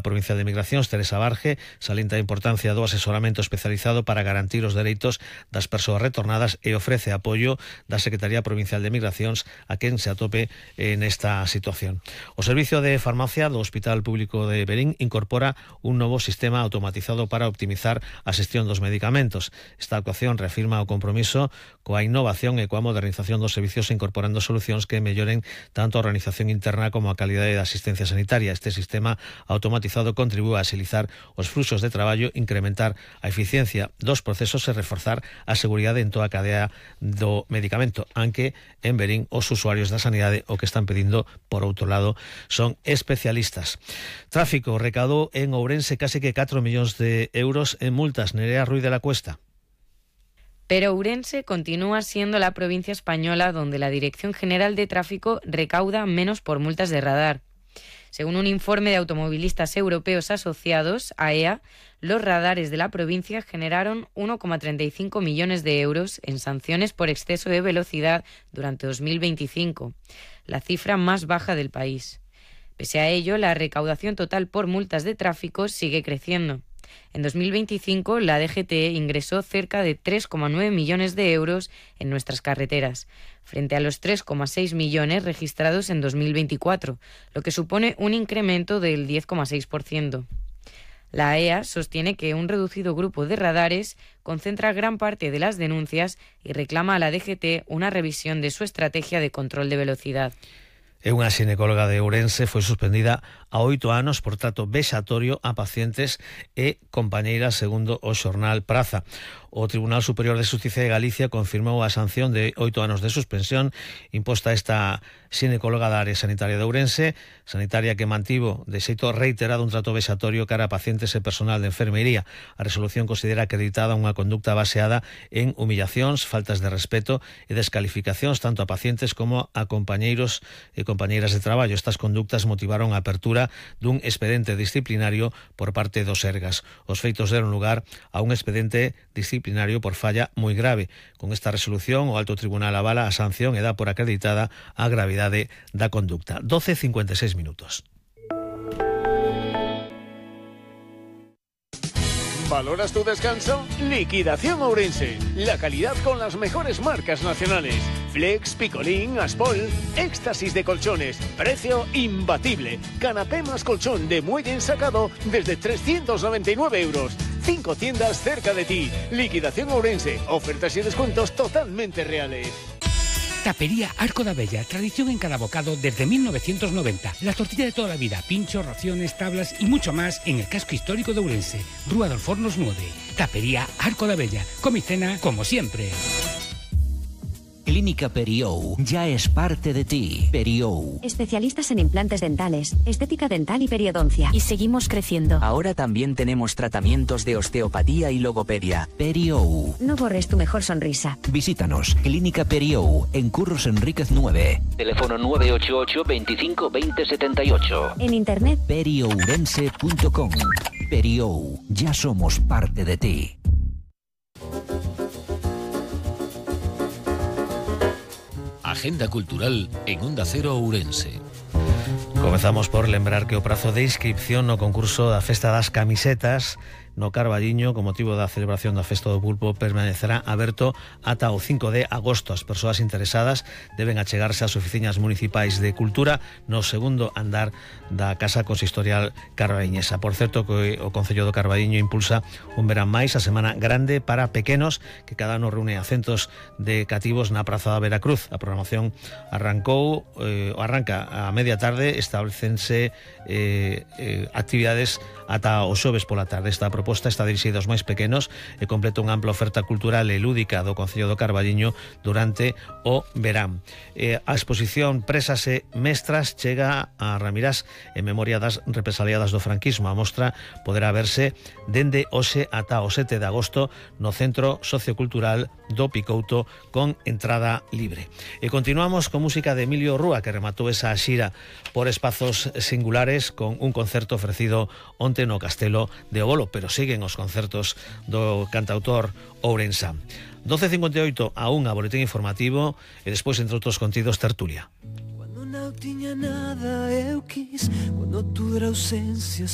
provincial de Migracións, Teresa Barge, salienta a importancia do asesoramento especializado para garantir os dereitos das persoas retornadas e ofrece apoio da Secretaría Provincial de Migracións a quen se atope nesta situación. O Servicio de Farmacia do Hospital Público de Verín incorpora un novo sistema automatizado para optimizar a xestión dos medicamentos. Esta actuación reafirma o compromiso coa innovación e coa modernización dos servicios incorporando solucións que melloren tanto a organización interna como a calidade da asistencia sanitaria. Este sistema automatizado contribúe a axilizar os fluxos de traballo, incrementar a eficiencia dos procesos e reforzar a seguridade en toda a cadea do medicamento, aunque en Verín os usuarios da sanidade o que están pedindo, por outro lado, son especialistas. Tráfico recaudou en Ourense case que 4 millóns de euros en multas. Nerea Ruiz de la Cuesta. Pero Ourense continúa siendo la provincia española donde la Dirección General de Tráfico recauda menos por multas de radar. Según un informe de automovilistas europeos asociados, AEA, los radares de la provincia generaron 1,35 millones de euros en sanciones por exceso de velocidad durante 2025, la cifra más baja del país. Pese a ello, la recaudación total por multas de tráfico sigue creciendo. En 2025, la DGT ingresó cerca de 3,9 millones de euros en nuestras carreteras, frente a los 3,6 millones registrados en 2024, lo que supone un incremento del 10,6%. La AEA sostiene que un reducido grupo de radares concentra gran parte de las denuncias y reclama a la DGT una revisión de su estrategia de control de velocidad. Unha xinecóloga de Ourense foi suspendida a 8 anos por trato vexatorio a pacientes e compañeiras, segundo o xornal Praza. O Tribunal Superior de Xustiza de Galicia confirmou a sanción de 8 anos de suspensión imposta a esta xinecóloga da área sanitaria de Ourense, sanitaria que mantivo de xeito reiterado un trato vexatorio cara a pacientes e personal de enfermería. A resolución considera acreditada unha conducta baseada en humillacións, faltas de respeto e descalificacións tanto a pacientes como a compañeiros e compañeiras de traballo. Estas conductas motivaron a apertura dun expediente disciplinario por parte dos Sergas. Os feitos deron lugar a un expediente disciplinario por falla moi grave. Con esta resolución, o Alto Tribunal avala a sanción e dá por acreditada a gravidade da conducta. 12:56 minutos. ¿Valoras tu descanso? Liquidación Ourense. La calidad con las mejores marcas nacionales. Flex, Picolín, Aspol, éxtasis de colchones. Precio imbatible. Canapé más colchón de muelle ensacado desde 399 euros. 5 tiendas cerca de ti. Liquidación Ourense. Ofertas y descuentos totalmente reales. Tapería Arco da Bella, tradición en cada bocado desde 1990. La tortilla de toda la vida, pinchos, raciones, tablas y mucho más en el casco histórico de Ourense. Rúa dos Fornos 9. Tapería Arco da Bella. Come y cena como siempre. Clínica Periou ya es parte de ti. Periou. Especialistas en implantes dentales, estética dental y periodoncia. Y seguimos creciendo. Ahora también tenemos tratamientos de osteopatía y logopedia. Periou. No borres tu mejor sonrisa. Visítanos. Clínica Periou en Curros Enríquez 9. Teléfono 988 25 20 78. En internet periourense.com. Periou. Ya somos parte de ti. Agenda cultural en Onda Cero Ourense. Comezamos por lembrar que o prazo de inscripción no concurso da Festa das Camisetas no Carballiño, con motivo da celebración da Festa do Pulpo, permanecerá aberto ata o 5 de agosto. As persoas interesadas deben achegarse ás oficinas municipais de Cultura no segundo andar da Casa Consistorial Carballiñesa. Por certo, que o Concello do Carballiño impulsa un verán máis, a Semana Grande para Pequenos, que cada ano reúne a centos de cativos na Praza da Veracruz. A programación arranca a media tarde, establecense actividades ata o xoves pola tarde. Esta proposta está dirixida aos máis pequenos e completa unha ampla oferta cultural e lúdica do Concello do Carballiño durante o verán. A exposición Presas e Mestras chega a Ramirás en memoria das represaliadas do franquismo. A mostra poderá verse dende hoxe ata o 7 de agosto no Centro Sociocultural do Picouto con entrada libre. E continuamos con música de Emilio Rúa, que rematou esa xira por espazos singulares con un concerto ofrecido onte no Castelo de Obolo, pero siguen os concertos do cantautor ourensán. 12:58 a 1 boletín informativo e despois, entre outros contidos, tertulia. Cuando non tiña nada eu quis, cuando tu ausencia